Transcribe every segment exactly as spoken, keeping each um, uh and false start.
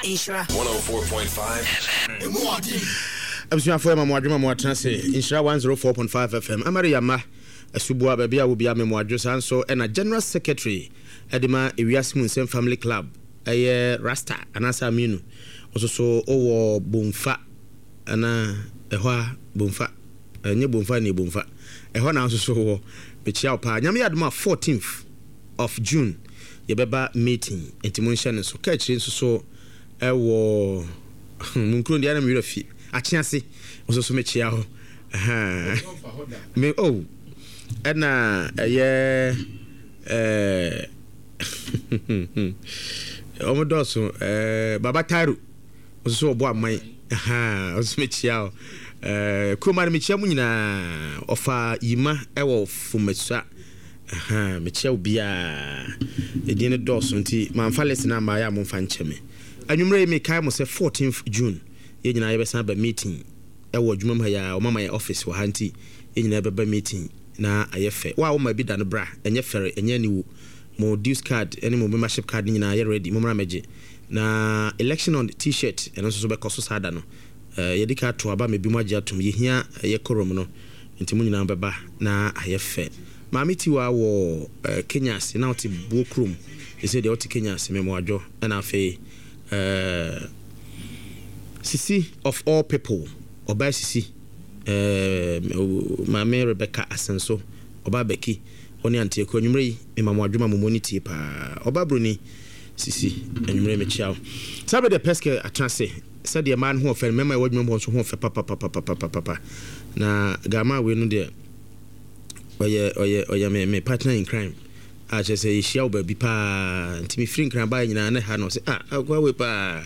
Nhyira one oh four point five Abusuafoɔ, yɛ ma mo adwuma mo atena se Nhyira one oh four point five F M. Amare Yama Asuboa, baabi a wobia me mo adwo. Saa nso ɛna General Secretary ɛde ma Ewiase Mu Nsɛm Family Club, ɛyɛ Rasta anaasɛ Aminu, ɔso so wowɔ Bomfa anaa ɛhɔ a Bomfa, ɛnyɛ Bomfa ne Bomfa ɛhɔ na nso so wɔ. Mekyia wo paa. Nyame yɛ adom a, fourteenth of June yɛbɛba meeting, nti monhyɛ no so. Ka akyire nso so ɛwɔ mu nkuro deɛ na mewerɛ fi akye ase nso so mekyia hɔ me oh ɛna ɛyɛ ɛɛ ɔmo dɔɔso. ɛɛ baba Tairo nso so ɔbɔ aman, nso mekyia hɔ. ɛɛ kuroma no mekyia mu nyinaa. Ɔfa Yima ɛwɔ Fumasua, mekyia obiara. Ɛdin no dɔɔso nti mamfa list no amma. Yɛ a momfa nkyɛ me. Anwummerɛ yi mekae mo sɛ fourteenth June yɛn nyinaa yɛbɛsan aba meeting ɛwɔ adwuma mu ha. Yɛ a ɔmama yɛ office wɔ ha, nti yɛn nyinaa bɛba meeting na ayɛ fɛ. Wo a woma bi da no, bra. Ɛnyɛ fɛre, ɛnyɛ aniwu. Mo dues card ɛne mo membership card no nyinaa yɛ ready, mommra mɛgye. Na election on T-shirt ɛno nso so bɛkɔ so saa da no. Yɛde ka ato aba ma bi mu agye atom. Yɛhia ɛyɛ quorum no, nti mo nyinaa bɛba na ayɛ fɛ. Maame Tiwa wɔ Kenya ase na ɔte Buo kurom ɛsɛ deɛ ɔte Kenya ase, mɛmoadwo. Ɛna afei Sisi of all people, ɔbaa Sisi, Maame Rebecca Asenso, ɔbaa Bɛki, ɔne Antiako, anwummerɛ yi mema mo adwuma mo ni tie paa. Ɔbaa Broni Sisi, anwummerɛ mekyia wo. Saa bɛ deɛ pɛskɛ atena ase sɛdeɛ mmaa no ho ɔfɛ no, mmarima a ɛwɔ adwuma mu hɔ nso ho ɔfɛ papapapapapa. Na gama wei no deɛ, ɔyɛ ɔyɛ ɔyɛ me me partner in crime a kyerɛ sɛ yɛhyia wo baabi paa, nti mefiri Nkran baeɛ nyinaa ne ha no sɛ ah, akoa wei paa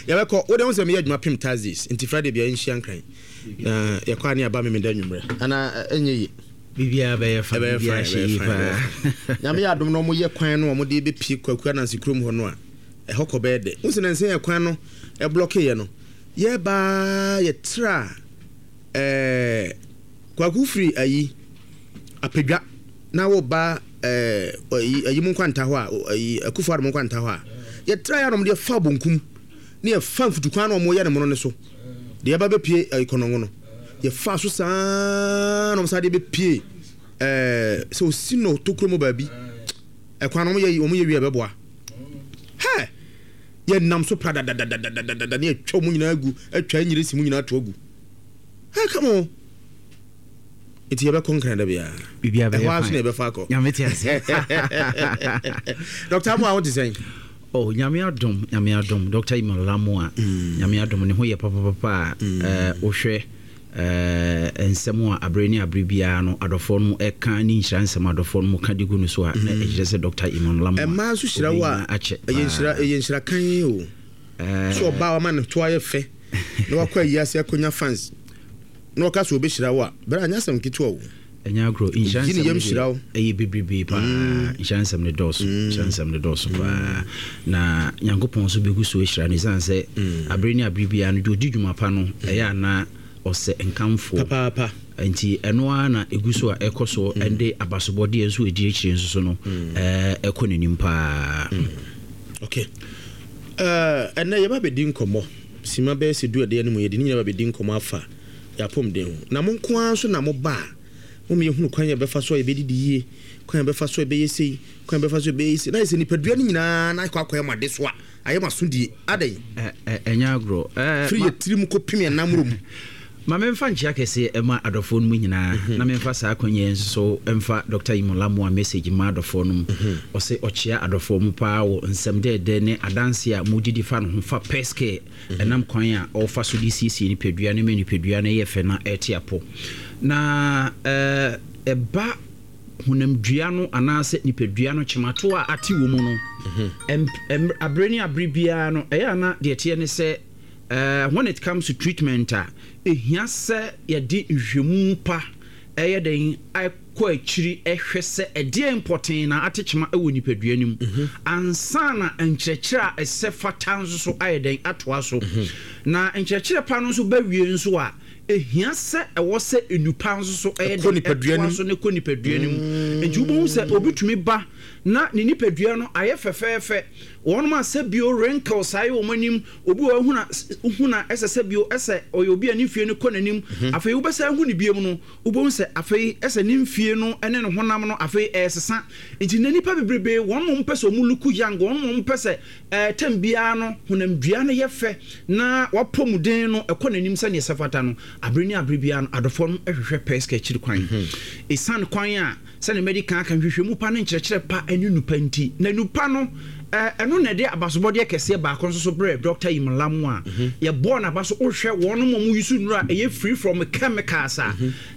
yɛbɛkɔ. Wode ho sɛ meyɛ adwuma pem Thursdays, nti Friday bia yɛnhyia Nkran na yɛkɔ a ne aba Memeda nwummerɛ ana ɛnyɛ ye? Biribiara bɛyɛ fa, biribiara hyɛ yie paa. Nyame yɛ adom na ɔmoyɛ kwan no a ɔmode bɛpie Kwaku Ananse kurom hɔ no a, ɛhɔ kɔ bɛyɛ dɛ. Wo sɛ nansɛ yɛ kwan no ɛblɔkeeɛ no, yɛbaa yɛtra ɛɛ Kwaku firi ayi Apadwa na woba ɛɛ ayi ayi mu nkwanta hɔ a, ayi Akufo Addo mu nkwanta hɔ a, yɛtra yɛ anom deɛ fa bonkum ne yɛfa mfutukwan na ɔmo yɛ ne mono ne so deɛ yɛba bɛpie ayi Kɔnɔngo no, yɛfa so saa na ɔmo saa deɛ bɛpie ɛɛ sɛ osi no tokuro mu baabi. Ɛkwan no ɔmo yɛ ɔmo yɛ wie, ɛbɛboa hɛ. Yɛnam so pra dadadadadadada ne yɛtwa ɔmo nyinaa agu, atwa nyere si mu nyinaa to agu. Hɛ, come on, nti yɛbɛkɔ Nkran da biara. Biribiara bɛyɛ ɛhɔ ara so fine. Na yɛbɛfa akɔ. Nyame te ase. Doctor Amoa, wo te sɛn? Oh, Nyame adom, Nyame adom. Doctor Emmanuel Amoa, Nyame adom, ne ho yɛ papapapa a eh, wohwɛ eh, nsɛm a abere ne abere biara no adɔfoɔ no ɛka ne nhyira nsɛm a adɔfoɔ no mu ka de gu no so a, na ɛkyerɛ sɛ Doctor Emmanuel Amoa ɛmaa nso hyira wo a obɛnya akyɛ ɛyɛ nhyira paa. Ɛyɛ nhyira kan o Eh, so ɔbaa wama ne to ayɛ fɛ na wakɔ ayi ase akɔnya fans na ɔka sɛ obɛhyira wo a, bɛrɛ anyɛ asɛm ketewa o. Ɛnyɛ agorɔ. Nhyira Oyi ne nsɛm yam no hyira wo. deɛ ɛyɛ bebrebe paa. Nhyira nsɛm no dɔɔso, nhyira nsɛm no dɔɔso paa, na Nyankopɔn nso bɛgu so ahyira no, ɛsiane sɛ abere ne abere biara no deɛ ɔdi dwuma pa no ɛyɛ anaa ɔsɛ nkamfoɔ. Papaapa. Nti ɛno ara na ɛgu so a ɛkɔ so, ɛde abasobɔdeɛ nso ɛdi akyire nso so no ɛɛ, ɛkɔ n'anim paa. Okay, uh, ɛnɛ yɛba bɛdi nkɔmmɔ sima bɛyɛ sɛ du ɛdeɛ no mu. Yɛde ne nyina ba bɛdi nkɔmmɔ afa yɛapɔmden ho, na mo nko ara nso na moba a mom yɛhunu kwan yɛbɛfa so a yɛbɛdidi yie, kwan yɛbɛfa so a yɛbɛyɛ sei, kwan yɛbɛfa so a yɛbɛyɛ sei, na yɛ sɛ nipadua no nyinaa na akɔ akɔyɛ mo ade so a ayɛ mo asodie adɛn? Ɛ- ɛ- ɛnyɛ agorɔ. Ɛɛ, firi ma- yɛ tirim kɔpem yɛn namorɔ mu. Ma memfa nkyea kɛseɛ ɛma adɔfoɔ no mu nyinaa, na memfa saa akwanyi nso so ɛmfa Doctor Imolamoa message ma adɔfoɔ no mu. Ɔsɛ ɔkyea adɔfoɔ mu paa wɔ nsɛm dɛɛdɛ ne adanse a modidi fa no ho fa pɛske ɛnam kwan a ɔfa so de siesie nipadua no ma nipadua no yɛ fɛ na ɛte apɔ. Na ɛɛ, ɛba honamdua no anaasɛ nipadua no kyemato a ate wɔ mu no, ɛm- ɛm- abere ne abere biara no, ɛyɛ ana deɛ teɛ ne sɛ uh, when it comes to treatment a, ɛhia sɛ yɛde nhwehwɛmu pa ɛyɛ den akɔ akyiri ɛhwɛ sɛ ɛdeɛ mpɔten na ate kyema ɛwɔ nipadua no mu ansa na nkyerɛkyerɛ a ɛsɛ fata nso so ayɛ den atoa so. Na nkyerɛkyerɛ pa no nso bɛwie nso a, Ehia sɛ ɛwɔ sɛ enupa nso so ɛyɛ Ɛkɔ nipadua no ɛtoa mu. So ne kɔ nipadua no mu. Nti wobɛhu sɛ obi tumi ba na ne nipadua no ayɛ fɛfɛɛfɛ. Wɔnom a sɛ bio wrinkles ayɛ wɔn anim, obi wɔ huna huna ɛsɛ sɛ bio ɛsɛ ɔyɛ obi a ne mfie no kɔ n'anim. Afei wobɛsɛ ahu ne biem no, wobɛhu sɛ afei ɛsɛ ne mfie no ɛne ne honam no afei ɛɛsesa. Nti na nipa bebrebe wɔn mo mpɛ sɛ ɔmo look young, wɔn mo mpɛ sɛ ɛɛ tɛm biara no honamdua no yɛ fɛ na wapɔ mu den no ɛkɔ n'anim sɛneɛ ɛsɛ fata no. Abere ne abere biara no, adɔfoɔ no ɛhwehwɛ Pɛsika akyiri kwan, ɛsiane kwan a sɛne mɛde kan aka nhwehwɛmu pa ne nkyerɛkyerɛ pa ne nupa nti. Na nupa no, ɛɛ, ɛno na ɛde abasobɔdeɛ kɛseɛ baako nso so brɛ Doctor Imolamu a yɛbɔɔ n'aba so. Wohwɛ wɔn mo mu yusu nnuro a ɛyɛ free from chemicals a,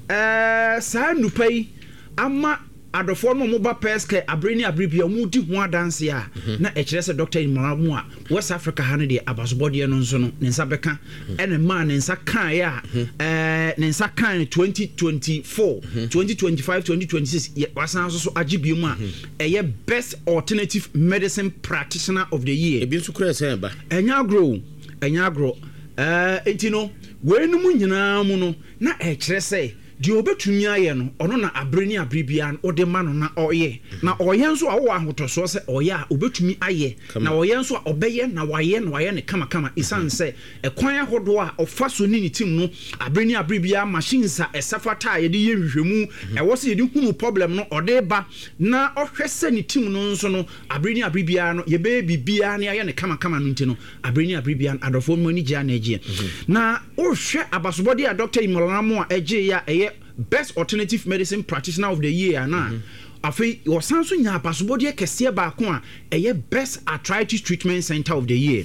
ɛɛ, saa nupa yi ama adɔfoɔ no a wɔba Pɛskɛ abere ne abere bia wɔn di ho adanse a, na ɛkyerɛ sɛ Doctor Imolamu a West Africa ha no deɛ, abasobɔdeɛ no nso no ne nsa bɛka. Ɛna maa ne nsa kaeɛ a, ɛɛ, ne nsa kae no twenty twenty-four, twenty twenty-five, twenty twenty-six, yɛ wasan nso so agye bio mu a ɛyɛ Best Alternative Medicine Practitioner of the Year. Ebi nso kura sɛn ba? Ɛnyɛ agorɔ o, ɛnyɛ agorɔ. ɛɛ nti no weinom nyinaa mu no, na ɛkyerɛ sɛ deɛ ɔbɛtumi ayɛ no, ɔno na abere ne abere biara no ɔde ma no na ɔyɛ. Na ɔyɛ nso a, wɔwɔ ahotɔsoɔ sɛ ɔyɛ a ɔbɛtumi ayɛ, na ɔyɛ nso a ɔbɛyɛ na wayɛ na wayɛ ne kamakama, ɛsiane sɛ ɛkwan ahodoɔ a ɔfa so ne ne team no abere ne abere biara, machines a ɛsɛ fata a yɛde yɛ nhwehwɛmu ɛwɔ sɛ yɛde hunu problem no, ɔde ba na ɔhwɛ sɛ ne team no nso no abere ne abere biara no yɛbɛyɛ biribiara ne ayɛ ne kamakama no. Nti no abere ne abere biara no, adɔfoɔ no ani gye a na agyeɛ. Na wohwɛ abasobɔdeɛ a Doctor Imolamo a ɛgye yɛ a ɛyɛ Best Alternative Medicine Practitioner of the Year ana, afei wɔsan so nya abasobɔdeɛ kɛseɛ baako a ɛyɛ Best Arthritis Treatment Center of the Year.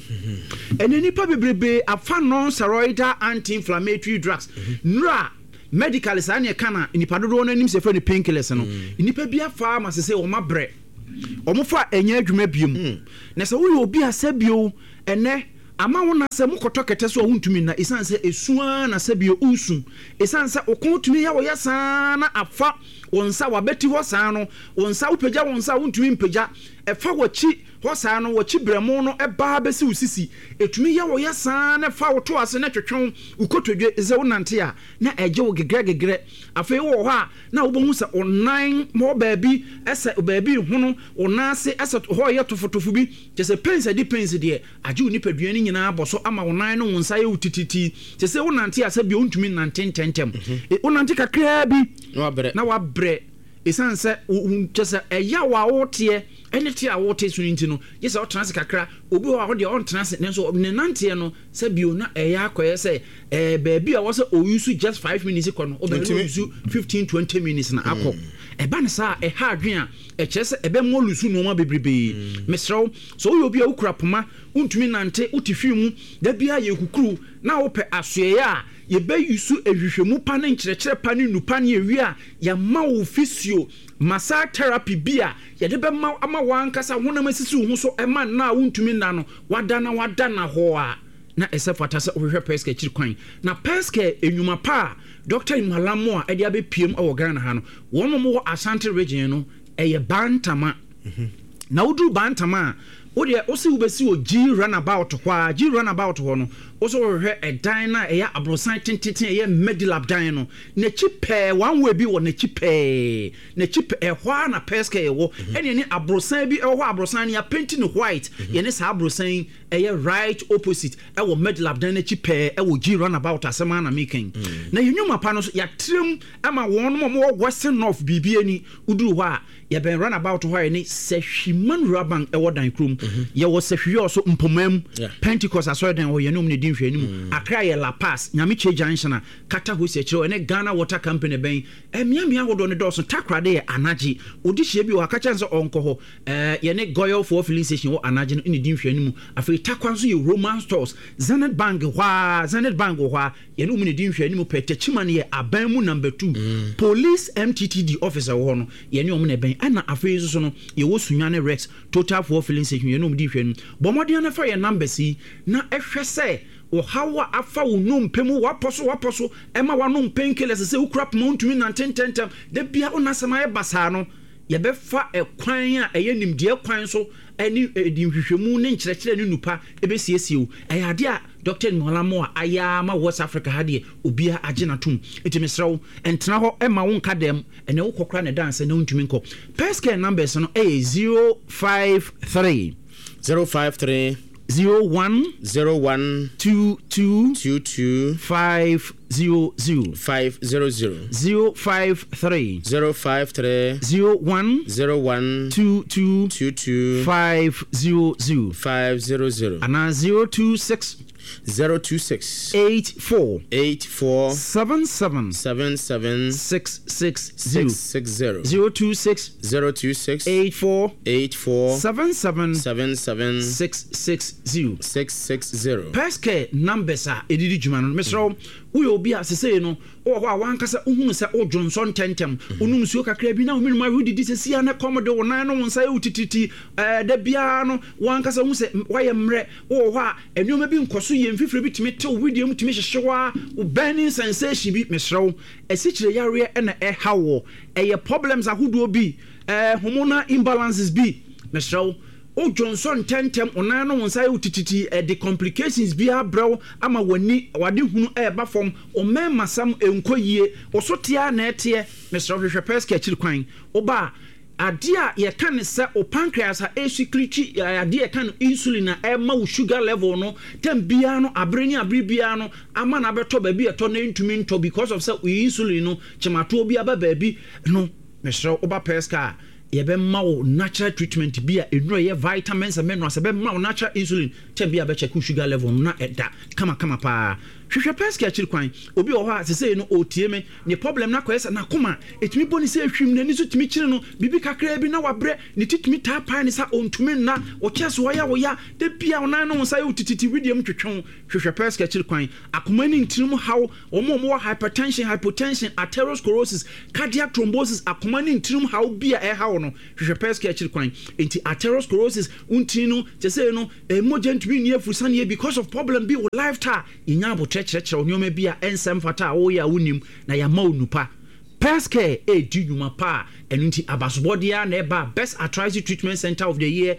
Ɛnɛ nipa bebrebe afa non-steroidal anti-inflammatory drugs nnura, medically saa neɛ ka na nipa dodoɔ no anim sɛ fɛ no painkillers no. Nipa bi afa ama sɛ sɛ wɔn abrɛ, wɔn fa ɛnyɛ adwuma biem. Na sɛ woyɛ obi a sɛ bio ɛnɛ ama wo na sɛ mokɔtɔ kɛtɛ so a wontumi nna, ɛsiane sɛ ɛsua na sɛ bio wosu, ɛsiane sɛ wo kɔn tumi yɛ wɔyɛ saa na afa wo nsa wabɛti hɔ saa no, wo nsa wopagya wo nsa a wontumi mpagya, ɛfa w'akyi hɔ saa no, w'akyi brɛmo no ɛbaa bɛsi wo sisi, ɛtumi yɛ wɔyɛ saa na ɛfa wo to ase na twetwe wo kotodwe sɛ wonante a na ɛgye wo gegrɛ gegrɛ. Afei wowɔ hɔ a na wobɛhu sɛ wo nan hɔ baabi ɛsɛ baabi hono, wo nan ase ɛsɛ hɔ yɛ tofotofo bi, kyɛ sɛ pains adi pains deɛ agye wo nipadua no nyinaa bɔ so ama wo nan no wo nsa yɛ wo tititi, kyɛ sɛ wonante a sɛ bio wontumi nante ntɛntɛm. E, wonante kakraa bi na wabrɛ. Na wabrɛ, ɛsiane sɛ wo- wo- kyɛ sɛ ɛyaw a woteɛ ɛne te a wote so no nti no, gye sɛ wotena ase kakra. Obi wɔ hɔ a wodeɛ ɔntena ase, nanso ne nanteɛ no sɛ bio na ɛyɛ akɔyɛ sɛ ɛɛ baabi a wɔ sɛ ɔuse just five minutes kɔ no, wobɛn Ntumi. ɔuse fifteen twenty minutes na akɔ. Ɛba ne saa a, ɛha adwen a ɛkyerɛ sɛ ɛbɛma ɔlose nneɛma bebrebee. Mesrɛ wo, sɛ woyɛ obi a wokura poma, wontumi nante, wote hwii mu da biara yɛ kukuru na wopɛ asoɛeɛ a yɛbɛyi ehwehwɛmu pa ne nkyerɛkyerɛ pa ne nnupa ne ewie a yɛama wo physio massage therapy bi a yɛde bɛma ama wankasa honam asisi wo ho so, ɛma nna a wontumi nna no wada na wada na hɔ a na ɛsɛ fata sɛ wohwehwɛ Pɛska akyiri kwan. Na Pɛska enwuma pa a Doctor Imalamo a ɛde abɛpiem wɔ Ghana ha no, wɔn a wɔwɔ Ashanti Region no ɛyɛ Bantama. Na woduru Bantama a, wodeɛ wosi wobɛsi wɔ G Runabout hɔ a, G Runabout hɔ no, wosɛ wɔhwehwɛ ɛdan no a ɛyɛ aborosan tententen, ɛyɛ Medilab dan no n'akyi pɛɛ, one way bi wɔ n'akyi pɛɛ, n'akyi pɛɛ ɛhɔ a na Pɛska ɛwɔ. Ɛne ɛne aborosan bi ɛwɔ hɔ, aborosan no yɛapaint no white. Yɛne saa aborosan yi ɛyɛ right opposite ɛwɔ Medilab dan n'akyi pɛɛ ɛwɔ G Runabout. Asɛm a na meka na yɛn nnwuma pa no so yɛatrɛm ama wɔn a wɔwɔ Western North biribi ani. Woduru hɔ a, yɛbɛn runabout hɔ a yɛne Sɛhwiman Rural Bank ɛwɔ dan kurom. Yɛwɔ Sɛhwiɔ so mpoma mu, Pentecost asɔredan hɔ, yɛne ɔm ne di nhwɛ anim. Accra yɛ Lapaz Nyamekyɛ Junction a kata hɔ si akyerɛ, ɛne Ghana Water Company bɛn. Mmeammea ahodoɔ no dɔɔso. Takorade yɛ Anagye, ɔdi hyia bi wɔ aka kyɛn sɛ ɔnkɔ hɔ, ɛɛ yɛne Goyɔfoɔ filling station wɔ Anagye no ne di nhwɛ anim. Afei Takwa nso yɛ Roman Stores, Zenith Bank hɔ a, Zenith Bank wɔ hɔ a yɛne wɔn ne di nhwɛ anim pɛ. Tɛkyima no yɛ aban mu number two, police M T T D office wɔ hɔ no, yɛne wɔn na ɛbɛn. Ɛna afei nso so no yɛwɔ Sunyane Rex Total Fuel filling station, yɛne wɔn di nhwɛ anim. Bɔ mmɔden no fa yɛn numbers yi na ɛhwɛ sɛ ɔhaw a afa wo nnompe mu, wapɔ so wapɔ so ɛma wanom painkillers sɛ wokura poma wontumi nante ntɛntɛm da bia wo nasɛm ayɛ basaa no. Yɛbɛfa ɛkwan a ɛyɛ nimdeɛ kwan so ɛne ɛdi nhwehwɛmu ne nkyerɛkyerɛ ne nupa ɛbɛsiesie wo. Ɛyɛ adeɛ a Doctor Nimolamoa ayɛ ama West Africa ha deɛ, obiara agye n'atom. Nti mesrɛ wo, ɛntena hɔ ɛma wo nka dɛm. Ɛnɛ wokɔ kora ne danse na wontumi nkɔ. Pescare numbers no ɛyɛ zero five three zero five three zero one zero one two two two two five zero zero. five zero zero. zero five three zero five three zero one zero one two two two two five zero zero. five zero zero. Anaa zero two six zero two six eight four eight four seven seven seven seven six six zero. six six zero. zero two six zero two six eight four eight four seven seven seven seven six six zero. six six zero. Pescare numbers a ɛdidi dwuma no, mesrɛ wo, woyɛ obi a sesei no wowɔ hɔ a wankasa wohunu sɛ wodwo nsɔ ntɛntɛm, wonom nsuo kakra bi na womenom awe, wodidi sɛsia ne kɔm de wo nan no wo nsa yɛ wo tititi, ɛɛ, da biara no wankasa wohu sɛ woayɛ mmerɛ. Wowɔ hɔ a nneɛma bi nkɔ so yɛ, mfifire bi tumi tew, wedeɛ mu tumi hyehye wo a, wo burning sensation bi, mesrɛ wo, asikyire yareɛ ɛna ɛha wɔ, ɛyɛ problems ahodoɔ bi, ɛɛ, hormonal imbalances bi, mesrɛ wo, wodwo nsɔ ntɛntɛm, wo nan no wo nsa yɛ wo tititi, ɛde complications bi abrɛ wo ama w'ani wade hunu ɛɛba fam, wo mmarima sam nkɔ yie, wo so teɛ na ɛteɛ, mesrɛ wo, hwehwɛ Pescare akyiri kwan. Woba a, adeɛ a yɛka ne sɛ wo pancreas a ɛsecrete adeɛ a yɛka no insulin a ɛma wo sugar level no tam biara no, abere ne abere biara no ama no abɛtɔ baabi a ɛtɔ na ɛntumi ntɔ because of sɛ wo insulin no kyematoɔ bi aba baabi no, mesrɛ wo, woba Pescare a, yɛbɛma wo natural treatment bi a ɛnura yɛ vitamins and minerals, ɛbɛma wo natural insulin kyɛn bi a bɛkyɛ wo sugar level no na ɛda kamakama paa. Hwehwɛ Pescare akyiri kwan. Obi wɔ hɔ a sesei no ɔtie me, ne problem no akɔyɛ sɛ n'akoma ɛtumi bɔ ne sɛ ehwim, n'ani so tumi kyere no biribi kakraa bi na wabrɛ, ne ti tumi taa pae ne sa, ɔntumi nna, ɔkyɛ so ɔyɛ woya da bia, ɔnan no wo nsa yɛ wo tititi, widie mu twetwe wo, hwehwɛ Pescare akyiri kwan. Akoma ne ntirim haw, wɔn a wɔwɔ hypertension, hypotension, atherosclerosis, cardiac thrombosis, akoma ne ntirim haw bi a ɛhaw no, hwehwɛ Pescare akyiri kwan. Nti atherosclerosis ntini no kyɛ sɛ no mogya ntumi nni afurusaneɛ because of problem bi wɔ lifestyle, yɛnya abotire kyerɛkyerɛ nneɛma bi a ɛnsɛm fata a wɔyɛ a wonim na yɛama wo nupa. Pescare ɛredi nnwuma pa a ɛno nti abasobɔdeɛ a na ɛba Best Arthritis Treatment Center of the Year,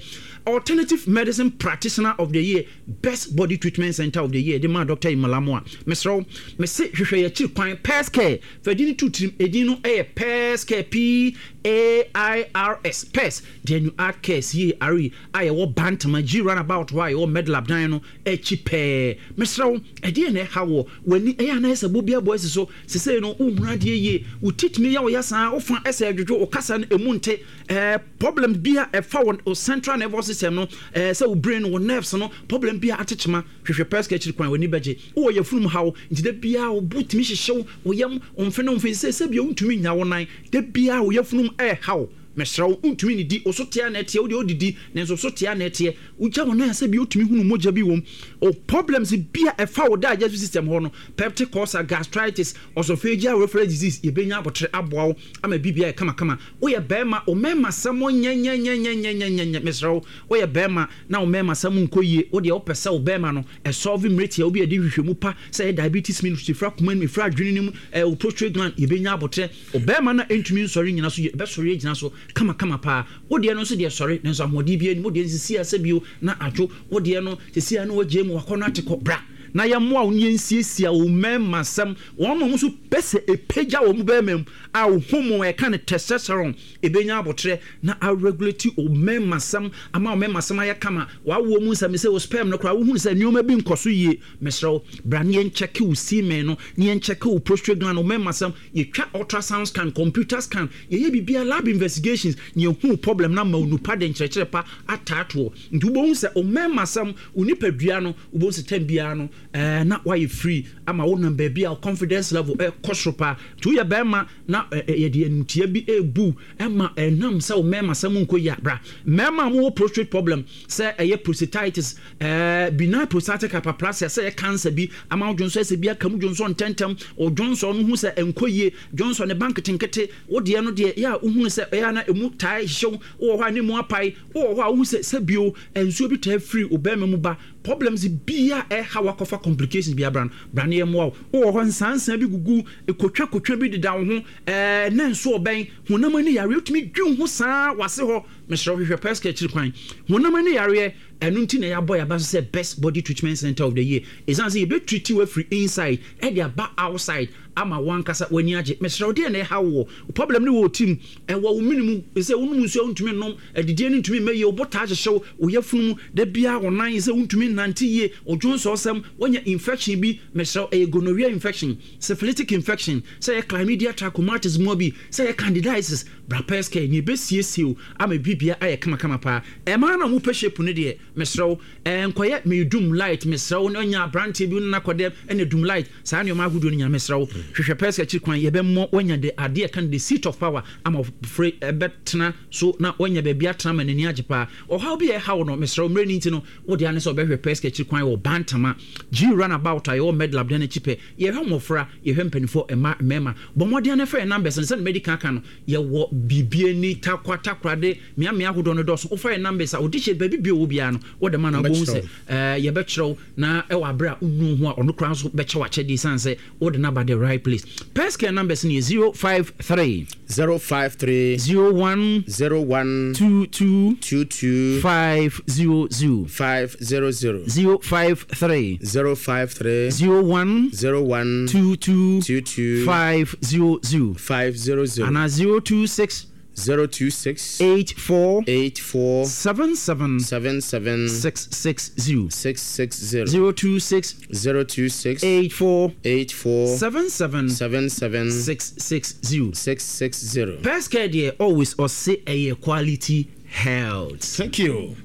Alternative Medicine Practitioner of the Year, Best Body Treatment Center of the Year de ma Doctor Imalamu a, mesrɛ wo, mese hwehwɛ yɛkyiri kwan. Pescare, fa din no to tirim. Ɛdin no ɛyɛ Pescare, P A I R S, Pairs Genuine Art Care C A R E, a yɛwɔ Bantama G roundabout hɔ a yɛwɔ Medlab dan no akyi pɛɛ. Mesrɛ wo, ɛdeɛ na ɛha wɔ w'ani ɛyɛ anayɛ sɛ bobi abɔ asi so sesei no, wohunu adeɛ yie, wo ti tumi yɛ wo ya saa, wofa ɛsɛ adwodwo, wo kasa no ɛmu nte, ɛɛ problem bi a ɛfa wɔ central nervous system no, ɛɛ sɛ wo brain, wo nerves no, problem bi a atekyema, hwehwɛ Pescare akyiri kwan, w'ani bɛgye. Wowɔ yɛfunum haw nti da biara wo bo tumi hyehyew, wo yam wo mfe ne wo mfe sɛ sɛ bia wontumi nya wo nan, da biara wo yɛfunum ɛɛhaw, mesrɛ wo, wontumi nidi, wo so tea na ɛteɛ, wo deɛ wodidi nanso so tea na ɛteɛ, wogya wo nan sɛ bi wotumi hunu mogya bi wom o, problems bi a ɛfa wo digestive system hɔ no, peptic ulcer, gastritis, esophageal reflux disease, yɛbɛnya abotere aboa wo ama biribi ayɛ kamakama. Woyɛ bɛrima, wo mmarima sɛm nyɛnyɛnyɛnyɛnyɛnyɛ, mesrɛ wo, woyɛ bɛrima na wo mmarima sɛm nkɔ yie, wo deɛ wopɛ sɛ wo bɛrima no ɛsɔlve mmerɛtia wo bi a yɛde hwehwɛmu pa sɛ ɛyɛ diabetes mellitus, ɛfiri akoma no mu, ɛfiri adwene no mu, ɛɛ wo prostate gland, yɛbɛnya abotere. Wo bɛrima no ɛntumi nsɔre nyina so, yɛbɛsɔre agyina so kamakama paa. Wo deɛ no nso deɛ sɔre nanso ahoɔden bi anim, wo deɛ nsisi asɛ bio na adwo, wo deɛ no sisi a na wagye mu wakɔ no ate kɔ bra na yɛmmoa wo ne yɛnsiesie wo mmarima sɛm. Wɔn mo nso pɛ sɛ ɛpagya wɔn bɛrima mu a wo hormone ɛka ne testosterone, ɛbɛnya abotrɛ na aregulate wo mmarima sɛm ama wo mmarima sɛm ayɛ kama. Wawoɔ mu nsɛm sɛ wo sperm no koraa, wohunu sɛ nneɛma bi nkɔ so yie, mesrɛ wo, bra ne yɛnkyɛke wo semen no ne yɛnkyɛke wo prostate gland, wo mmarima sɛm. Yɛtwa ultrasound scan, computer scan, yɛyɛ biribiara, lab investigations, ne yɛhu problem no ama wo nupa de nkyerɛkyerɛ pa ataatoɔ. Nti wobɛhu sɛ wo mmarima sɛm, wo nipadua no, wobɛhu sɛ time biara no ɛɛ na wayɛ free ama wo nam baabi a confidence level ɛkɔ soro paa. Nti woyɛ bɛrima na yɛde animtia bi ebu ɛma ɛnam sɛ wo mmarima sɛm nkɔ yie a, bra. Mmarima a wɔwɔ prostate problem, sɛ ɛyɛ prostatitis, ɛɛ benign prostatic hyperplasia, sɛ ɛyɛ cancer bi ama wo dwonsɔ ɛsɛ bi aka mu, dwonsɔ ntɛntɛm, o dwonsɔ no hu sɛ ɛnkɔ yie, dwonsɔ ne ba nketenkete, wo deɛ no deɛ yɛ a wohunu sɛ ɛyɛ na emu taa hyew, wowɔ hɔ a ne mu apae, wowɔ hɔ a wohu sɛ sɛbio nsuo bi taa firi wo bɛrima mu ba. Problems bia ɛha wakɔfa complications bi abra no, bra ne yɛmmoa wo. Wowɔ hɔ nsansan bi gugu, kotwa kotwa bi deda wo ho, ɛɛ na nso ɔbɛn honam ani yareɛ, wotumi dwi wo ho saa wase hɔ. Mesrɛ wo, hwehwɛ Pɛska akyiri kwan. Honam ani yareɛ, ɛno nti na yɛabɔ yɛaba so sɛ Best Body Treatment Center of the Year. Ɛsiane sɛ yɛbɛtriti wo afiri inside ɛde aba outside ama wankasa w'ani agye. Mesrɛ wo, deɛ na ɛha wo wɔ problem ne wɔ wo tirim, ɛwɔ wo mene mu, sɛ wonom nsuo a wontumi nnom, adidie no ntumi mmɛ yie, wo bo taa hyehye wo, wo yafunu mu, da biara wo nan sɛ wontumi nnante yie, wo dwonsɔsɛm, woanya infection bi. Mesrɛ wo, ɛyɛ gonorrhea infection, syphilitic infection, sɛ ɛyɛ chlamydia trachomatis mmoa bi, sɛ ɛyɛ candidiasis, bra Pɛskɛ ne ɛbɛsiesie wo ama biribia ayɛ kamakama paa. Ɛmaa na mopɛ shape no deɛ, mesrɛ wo, ɛnkɔyɛ meedum light. Mesrɛ wo, na ɔnya aberanteɛ bi no nakɔdɛm ɛna dum light, saa nneɛma ahodoɔ no nyina, mesrɛ wo, hwehwɛ Pɛskɛ akyiri kwan. Yɛbɛmmɔ woanya de adeɛ ɛka no the seat of power ama fere ɛbɛtena so na woanya baabi atena ma n'ani agye paa. Ɔhaw bi a ɛha wo no, mesrɛ wo, mmerɛ no nti no, wode ane sɛ wobɛhwɛ Pɛskɛ akyiri kwan wɔ Bantama G runabout a yɛwɔ Medlab dan akyi pɛ. Yɛhwɛ mmɔfra, yɛhwɛ mpanimfoɔ, mmaa, mmarima. Bɔ mmɔden na fa yɛn numbers no sɛdeɛ madi kan aka no. Yɛwɔ biribi ani takwa takorade mmeammea ahodoɔ no dɔɔso. Wofa yɛn numbers a wode hyɛ baabi bio wɔ biara no, wode ma no, wobɛhu sɛ ɛɛ yɛbɛkyerɛ wo na ɛwɔ abere a wonu ho a, ɔno koraa nso bɛkyɛ wo akyɛdeɛ ɛsiane sɛ wode no aba the right place. Pɛskɛ numbers no yɛ zero five three zero five three zero one zero one two two two two five zero zero five zero zero zero five three zero five three zero one zero one two two two two five zero zero five zero zero ana zero two six zero two six eight four eight four seven seven seven seven six six zero six six zero zero two six zero two six eight four eight four seven seven seven seven six six zero six six zero. Pɛskɛ deɛ, always ɔse ɛyɛ quality health. Thank you.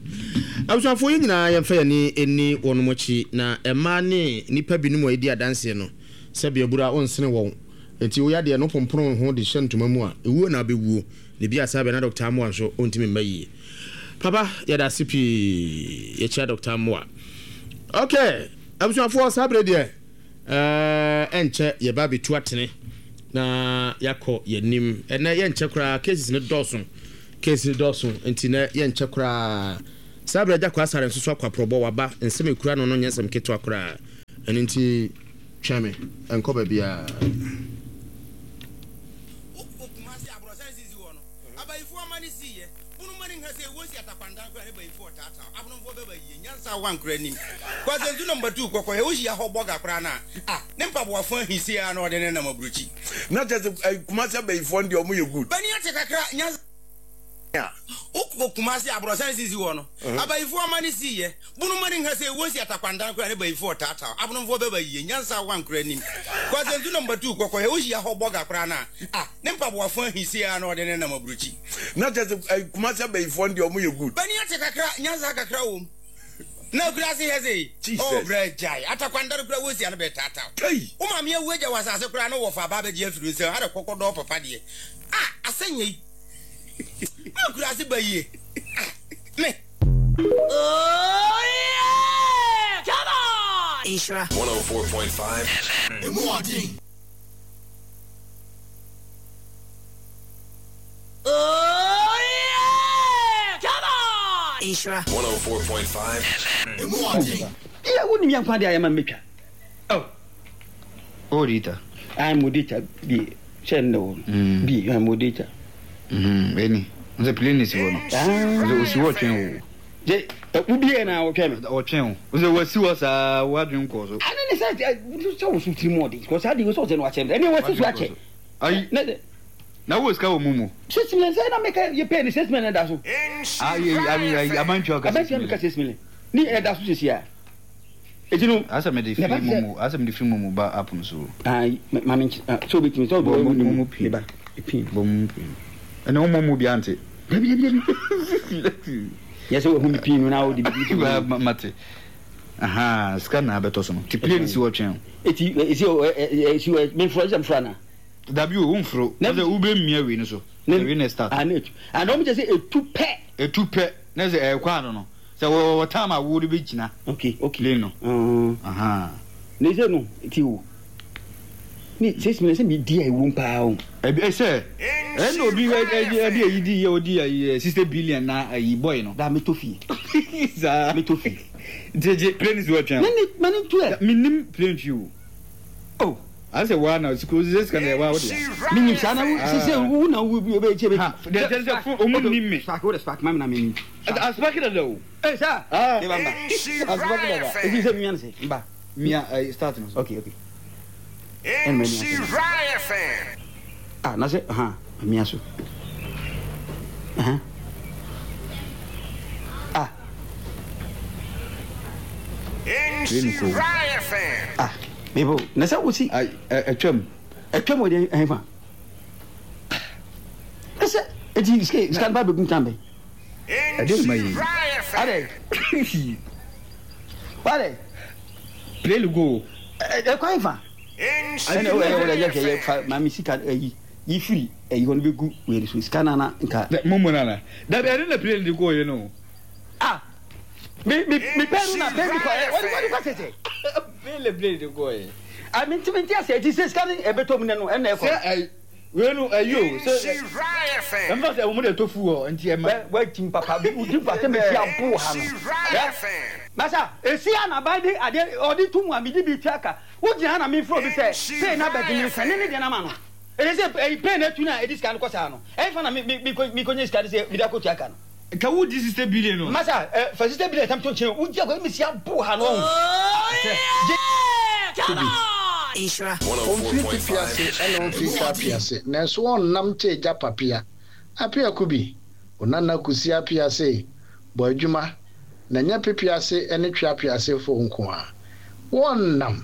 Abusuafoɔ, yɛn nyinaa yɛmfa yɛn ani ɛni wɔn akyi, na mmaa ne nnipa binom a yɛdi adanseɛ no, sɛbi abura onsene wɔn. Nti woyɛ adeɛ no pompono ho de hyɛ ntoma mu a, ewuo na abɛwuo. Ne bi asa bɛ na Doctor Amoa nso ɔntumi mma yie. Papa, yɛda ase pii. Yɛkyia Doctor Amoa. Okay, abusuafoɔ, saa bere deɛ ɛɛ ɛnkyɛ yɛba abɛtu atene na yɛakɔ yɛnim. Ɛnɛ yɛnkyɛ koraa, cases no dɔɔso. Case no dɔɔso nti nɛ yɛnkyɛ koraa. Saa bere agya kɔ asare nso so akɔ aprɔbɔ waba, nsɛm ekura no no nyɛ nsɛm ketewa koraa. Ɛno nti twɛn me, ɛnkɔ baabiara. Wokɔ Kumasi aborɔsan sisi hɔ no, abayifoɔ ama ne siiɛ. Bunuma ne nha sɛ wɔsi atakwandan koraa ne bayifoɔ taataa. Abonomfoɔ bɛba yie. Nyansa wankora anim. Kwasentu number two kɔkɔhɛ wohyia hɔ bɔga koraa no a, ah, ne mpaboafo ahisie a na ɔde ne nam aburokyi. Na kyerɛ sɛ Kumasi abayifoɔ no deɛ ɔmo yɛ good. Bani ate kakra nyansa. Wokɔ Kumasi aborɔsan sisi hɔ no, abayifoɔ ama ne siiɛ. Bunuma ne nha sɛ wɔsi atakwandan koraa ne bayifoɔ taataa. Abonomfoɔ bɛba yie. Nyansa wankora anim. Kwasentu number two kɔkɔhɛ wohyia hɔ bɔga koraa no a, ah, ne mpaboafo ahisie a na ɔde ne nam aburokyi. Na kyerɛ sɛ Kumasi abayifoɔ no deɛ ɔmo yɛ good. Bani ate kakra nyansa kakra wɔ mu. Na akura ase hɛ sɛ Jesus. Oh, brɛ gyae atakwandare koraa wɔsi ano bɛ taataa. Kai. Wo maame awu agya wɔ asase koraa no wɔfa aba abɛgye afiri nsɛm ha de kɔkɔdɔɔ papa deɛ. Ah, asɛnyɛ yi. Na akura ase ba yie. Ah, me. Oh yeah! Come on! Nhyira one oh four point five F M. Emu ɔden. Oh yeah! Come on! Nhyira one oh four point five F M. Emu ɔden. Yeah, wo nim yɛn kwan de ayɛ ma metwa. Oh. Oh, dita. I'm modita bi hyɛ ne wo. Bi I'm modita. Mhm, eni. Nse plane si hɔ no. Ah. Nse osi hɔ twɛn wo. Je, wo bi na wo twɛn me. Ɔtwɛn wo. Nse wasi hɔ saa wo adwen kɔ so. Ane ne sɛ sɛ wo so tiri mu ɔden. Kɔ saa de wo sɛ ɔsɛ no akyɛ me. Ɛne wasi so akyɛ. Ayi. Ne Na wo sika wɔ mu mu. Six million sɛ na meka yɛ pay ne six million da so. Ayi ayi ayi abantwa ka. Abantwa meka six million. Ni ɛda so sisi a. Eti no. Asa me de free mumu, asa me de free mumu ba app no so. Ah, ma me so obetimi so obi mu mu pin. Ba pin. Bɔ mu pin. Ene wo mu bi ante. Dabi dabi dabi. Yes, wo hu mi pin no na wo di bi. Ba mate. Aha, sika na abeto so no. Ti plane si wo twen. Eti esi esi me fro esi mfra na. Dabi o, wo mfro. Na se wo be mia wi no so. Wi na start. Ah, na etu. And o me se etu pe. Etu pe. Na se e kwa no no. Se wo wo time a wo de be gina. Okay, okay. Plane no. Mhm. Aha. Na se no ti wo. Ne six million sɛ medi a ɛwom paa o. Ɛbi sɛ ɛna obi ɛdi ɛdi eyi di yɛ odi ɛyi sixty billion na ɛyi boy no. Da metɔ fie. Saa metɔ fie. Gyegye plane si wɔ twɛn. Ne ne ma ne tu ɛ. Mi nim plane twi o. Oh. Asɛ waa na sika sika sika na ɛwɔ awo de. Mi nim saa na wo sise wo na wo ebe ekyɛ bɛ. Ha deɛ kyerɛ sɛ fo ɔmu nim mi. Spark wo de spark ma mi na mi nim. Aspark dada o. Ee saa. Ah. Ne ba mba. Aspark dada. Ebi sɛ mi mia ne sɛ mba. Mia ɛyi start no so. Okay okay. Ɛna mɛ mia so. Ah na sɛ ha mia so. Ɛhɛn. Ah. Ah. Mebo na sɛ wosi. Ɛtwam. Ɛtwam wɔ deɛ ɛhɛn fa. Ɛsɛ eti sika sika no ba bɛgu ntan bɛn. Ɛdeɛ na ma yi. Adɛ. Wadɛ. Plane go. Ɛkwan fa. Ɛna ɛwɔ ɛwɔ ɛyɛ hwɛ yɛ fa maame sika ɛyi yi firi ɛyi hɔ no bɛgu wei so sika nana nka. Mo nana. Dabi ɛde na plane de go yɛ no. Ah. Mi mi mi pɛn no na pɛn bi kɔ ɛ wɔde wɔde kɔ tete. Plane plane de go yɛ. Ah mi ntumi nti ase eti sɛ sika no ɛbɛtɔ mu nɛ no ɛna ɛkɔ. Sɛ ɛyi wei no ɛyi o sɛ ɛnfa sɛ wɔn de to fu hɔ nti ɛma. Wɛ wɛ ti papa bi wodi pa sɛ mesi abo ha no. Masa esi anaban de adeɛ ɔde tu mu a mi di bi tua ka wogyina ha na mi furo bi sɛ pay na bɛdi mi sɛ ne ne deɛ na ma no. Ɛyɛ sɛ ɛyi pay na etu na edi sika no kɔ saa no ɛyɛ fa na mi mi mi ko mi ko nye sika de sɛ mi de akɔ tua ka no. Ka wo di sixty billion o. Masa ɛ fa sixty billion tam to nkyɛn wodi akɔ mi si abo ha no ɔho. Ɔmfiri pipi ase ɛna ɔmfiri twa ase, nanso ɔnnam kyɛ agya papea. Apea Kubi, wo nana Kusi Apea se, bɔ adwuma, na nyɛ pipi ase ne twa ase fo nko ara. Wɔnnam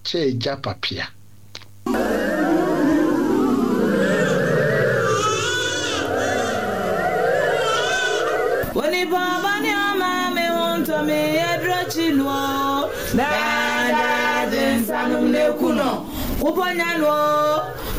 kyɛ agya papea. Onipa bani ama me hunto me yedrochinuo dada jinsanum ne kuno kuponyanuo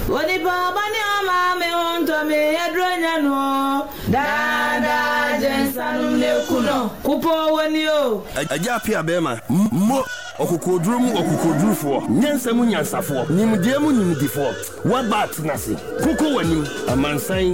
Onipa bani ama me hunto me yedronyanuo dada jinsanum ne kuno kupo wonio Aja pia bema mo okokoduru mu okokodurufo nyansa mu nyansafo nimde mu nimdifo wabat nase koko wanim amansan.